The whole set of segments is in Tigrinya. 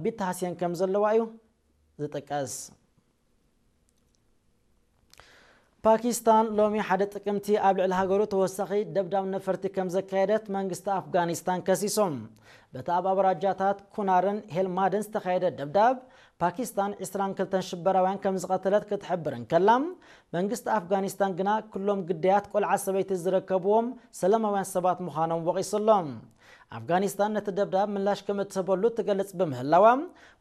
ቢተሃስየን ከም ዘለዋ እዩ ዝጥቀስ። ፓኪስታን ሎሚ ሓደ ጥቅምቲ ኣብ ልዕሊ ሃገሩ ተወሳኺ ደብዳብ ነፈርቲ ከም ዘካየደት መንግስቲ ኣፍጋኒስታን ከሲሶም። በቲ ኣብ ኣውራጃታት ኩናርን ሄልማድን ዝተኻየደ ደብዳብ ፓኪስታን ዕስራን ክልተን ሽበራውያን ከም ዝቐተለት ክትሕብር እንከላ፣ መንግስቲ ኣፍጋኒስታን ግና ኩሎም ግዳያት ቆልዓ ሰበይቲ ዝረከብዎም ሰላማውያን ሰባት ምዃኖም ወቒሱ ኣሎ። ኣፍጋኒስታን ነቲ ደብዳብ ምላሽ ከም እትህበሉ ትገልጽ ብምህላዋ፣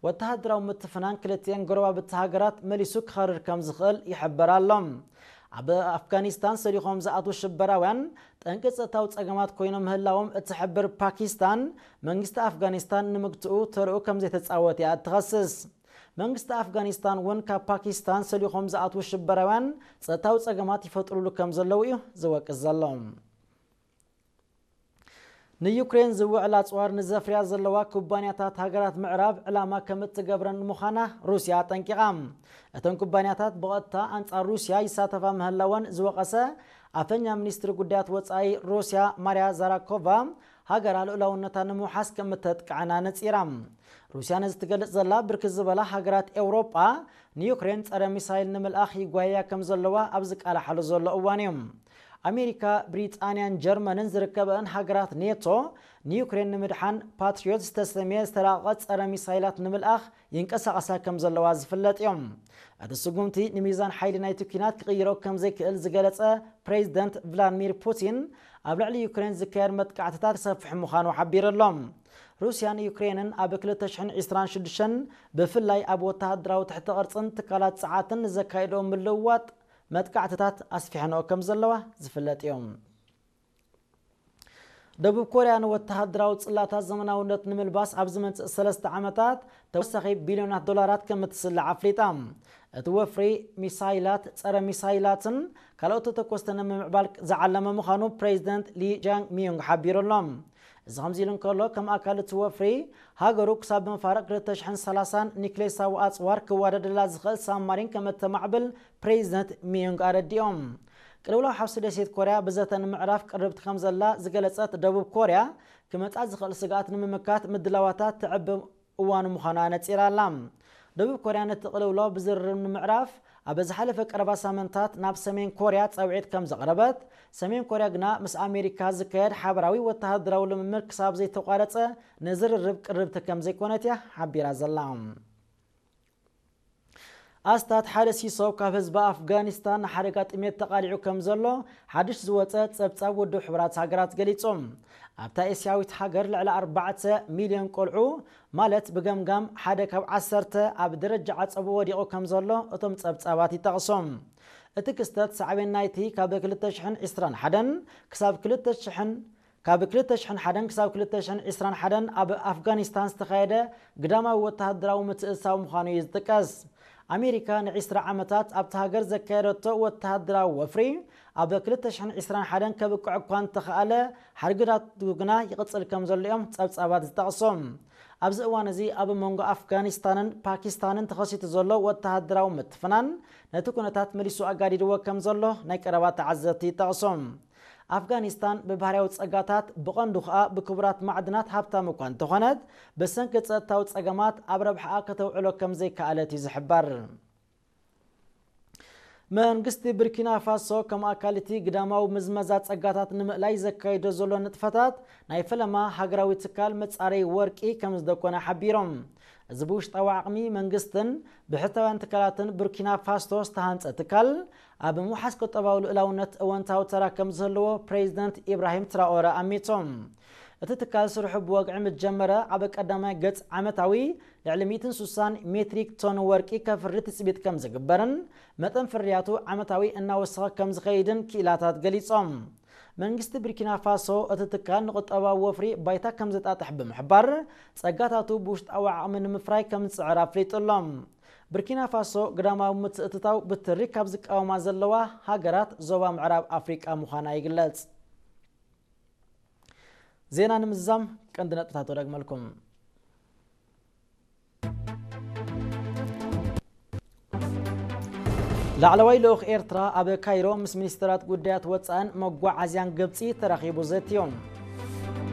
ወተሃደራዊ ምትፍናን ክልቲኤን ጎረባብቲ ሃገራት መሊሱ ክኸርር ከም ዝኽእል ይሕበር ኣሎ። ኣብ ኣፍጋኒስታን ሰሊኾም ዝኣትዉ ሽበራውያን ጠንቂ ጸጥታዊ ጸገማት ኮይኖም ምህላዎም እትሕብር ፓኪስታን፣ መንግስቲ ኣፍጋኒስታን ንምግትኡ ተርኡ ከም ዘይተጻወት እያ እትኸስስ። መንግስቲ ኣፍጋኒስታን እውን ካብ ፓኪስታን ሰሊኾም ዝኣትዉ ሽበራውያን ጸጥታዊ ጸገማት ይፈጥሩሉ ከም ዘለዉ እዩ ዝወቅስ ዘሎ። ንዩክሬን ዝውዕል ኣጽዋር ንዘፍርያ ዘለዋ ኩባንያታት ሃገራት ምዕራብ ዕላማ ከም እትገብረን ምዃና ሩስያ ኣጠንቂቓ። እተን ኩባንያታት ብቐጥታ ኣንጻር ሩስያ ይሳተፋ ምህላወን ዝወቐሰ ኣፈኛ ሚኒስትሪ ጉዳያት ወጻኢ ሩስያ ማርያ ዛራኮቫ፣ ሃገራ ልኡላውነታ ንምውሓስ ከም እተጥቅዐን ኣነጺራ። ሩስያ ነዚ ትገልጽ ዘላ፣ ብርክት ዝበላ ሃገራት ኤውሮጳ ንዩክሬን ጸረ ሚሳይል ንምልኣኽ ይጓየያ ከም ዘለዋ ኣብ ዝቃላሓሉ ዘሎ እዋን እዩ። ኣሜሪካ፣ ብሪጣንያን ጀርመንን ዝርከበአን ሃገራት ኔቶ ንዩክሬን ንምድሓን ፓትሪዮት ዝተሰምየ ዝተራቐቐ ጸረ ሚሳይላት ንምልኣኽ ይንቀሳቐሳ ከም ዘለዋ ዝፍለጥ እዮም። እቲ ስጉምቲ ንሚዛን ሓይሊ ናይቲ ኲናት ክቕይሮ ከም ዘይክእል ዝገለጸ ፕሬዚደንት ቭላድሚር ፑቲን፣ ኣብ ልዕሊ ዩክሬን ዝካየድ መጥቃዕትታት ክሰፍሕ ምዃኑ ሓቢሩ ኣሎ። ሩስያን ዩክሬንን ኣብ ክልተ ሽሕን ዕስራን ሽዱሽተን ብፍላይ ኣብ ወተሃደራዊ ትሕተ ቅርጽን ትካላት ጸዓትን ንዘካየድኦ ምልውዋጥ መጥቃዕትታት ኣስፊሐንኦ ከም ዘለዋ ዝፍለጥ እዮም። ደቡብ ኮርያ ንወተሃደራዊ ጽላታት ዘመናውነት ንምልባስ ኣብ ዝመጽእ ሰለስተ ዓመታት ተወሳኺ ቢልዮናት ዶላራት ከም እትስልዕ ኣፍሊጣ። እቲ ወፍሪ ሚሳይላት፣ ጸረ ሚሳይላትን ካልኦት ተተኮስትን ንምምዕባል ዝዓለመ ምዃኑ ፕሬዚደንት ሊ ጃንግ ሚዩንግ ሓቢሩ ኣሎ። እዚ ከምዚ ኢሉ እንከሎ፣ ከም ኣካል እቲ ወፍሪ፣ ሃገሩ ክሳብ መፋርቕ ክልተ ሽሕን ሰላሳን ኒክሌሳዊ ኣጽዋር ክዋደደላ ዝኽእል ሳብማሪን ከም እተማዕብል ፕሬዚደንት ሚዩንግ ኣረዲኦም። ቅልውላው ሓውሲ ደሴት ኮርያ ብዘተ ንምዕራፍ ቅርብቲ ከም ዘላ ዝገለጸት ደቡብ ኮርያ፣ ክመጻ ዝኽእል ስግኣት ንምምካት ምድላዋታት ተዕብ እዋኑ ምዃኑ ኣነጺራ ኣላ። ደቡብ ኮርያ ነቲ ቅልውላው ብዝርርብ ንምዕራፍ ኣብ ዝሓለፈ ቀረባ ሳምንታት ናብ ሰሜን ኮርያ ጻውዒት ከም ዘቕረበት፣ ሰሜን ኮርያ ግና ምስ ኣሜሪካ ዝካየድ ሓበራዊ ወተሃደራዊ ልምምድ ክሳብ ዘይተቋረጸ ንዝርርብ ቅርብቲ ከም ዘይኮነት እያ ሓቢራ ዘላ። ኣስታት ሓደ ሲሶ ካብ ህዝቢ ኣፍጋኒስታን ንሓደጋ ጥሜት ተቓሊዑ ከም ዘሎ ሓድሽ ዝወጸ ጸብጻብ ውድብ ሕቡራት ሃገራት ገሊጹ። ኣብታ ኤስያዊት ሃገር ልዕሊ ኣርባዕተ ሚልዮን ቆልዑ፣ ማለት ብገምጋም ሓደ ካብ ዓሰርተ፣ ኣብ ደረጃ ዓጸቦ ወዲቑ ከም ዘሎ እቶም ጸብጻባት ይጠቕሱ። እቲ ክስተት ሳዕቤን ናይቲ ካብ ክልተ ሽሕን ዕስራን ሓደን ክሳብ ክልተ ሽሕን ካብ ክልተ ሽሕን ሓደን ክሳብ ክልተ ሽሕን ዕስራን ሓደን ኣብ ኣፍጋኒስታን ዝተኻየደ ግዳማዊ ወተሃደራዊ ምትእስሳር ምዃኑ እዩ ዝጥቀስ። ኣሜሪካ ንዕስራ ዓመታት ኣብቲ ሃገር ዘካየደቶ ወተሃደራዊ ወፍሪ ኣብ ክልተ ሽሕን ዕስራን ሓደን ከብቅዕ እኳ እንተኸኣለ፣ ሓድግታቱ ግና ይቕጽል ከም ዘሎ እዮም ጸብጻባት ዝጠቕሱ። ኣብዚ እዋን እዚ ኣብ መንጎ ኣፍጋኒስታንን ፓኪስታንን ተኸሲቱ ዘሎ ወተሃደራዊ ምትፍናን ነቲ ኩነታት መሊሱ ኣጋዲድዎ ከም ዘሎ ናይ ቀረባ ተዓዘብቲ ይጠቕሱ። ኣፍጋኒስታን ብባህርያዊ ጸጋታት፣ ብቐንዱ ኸኣ ብክቡራት ማዕድናት ሃብታም እኳ እንተኾነት፣ ብሰንኪ ጸጥታዊ ጸገማት ኣብ ረብሓኣ ከተውዕሎ ከም ዘይከኣለት እዩ ዝሕበር። መንግስቲ ብርኪና ፋሶ ከም ኣካል እቲ ግዳማዊ ምዝመዛ ጸጋታት ንምእላይ ዘካይዶ ዘሎ ንጥፈታት ናይ ፈለማ ሃገራዊ ትካል መጻረዪ ወርቂ ከም ዝደኮነ ሓቢሮም። እዚ ብውሽጣዊ ዓቕሚ መንግስትን ብሕታውያን ትካላትን ቡርኪና ፋሶ ዝተሃንጸ ትካል ኣብ ምውሓስ ቁጠባዊ ልኡላውነት እወንታዊ ተራ ከም ዝህልዎ ፕሬዚደንት ኢብራሂም ትራኦረ ኣሚቶም። እቲ ትካል ስርሑ ብወግዒ ምስ ጀመረ ኣብ ቀዳማይ ገጽ ዓመታዊ ልዕሊ ሚእትን ስሳን ሜትሪክ ቶን ወርቂ ከፍሪ ትጽቢት ከም ዝግበርን መጠን ፍርያቱ ዓመታዊ እናወሰኸ ከም ዝኸይድን ክኢላታት ገሊጾም። መንግስቲ ቡርኪና ፋሶ እቲ ትካል ንቁጠባዊ ወፍሪ ባይታ ከም ዘጣጥሕ ብምሕባር፣ ጸጋታቱ ብውሽጣዊ ዓቕሚ ንምፍራይ ከም ዝጽዕር ኣፍሊጡ ኣሎ። ቡርኪና ፋሶ ግዳማዊ ምትእትታው ብትሪ ካብ ዝቃወማ ዘለዋ ሃገራት ዞባ ምዕራብ ኣፍሪቃ ምዃና ይግለጽ። ዜና ንምዝዛም ቀንዲ ነጥብታት ወደግመልኩም። ላዕለዋይ ልኡኽ ኤርትራ ኣብ ካይሮ ምስ ሚኒስተራት ጉዳያት ወጻእን መጓዓዝያን ግብጺ ተራኺቡ ዘትዮም።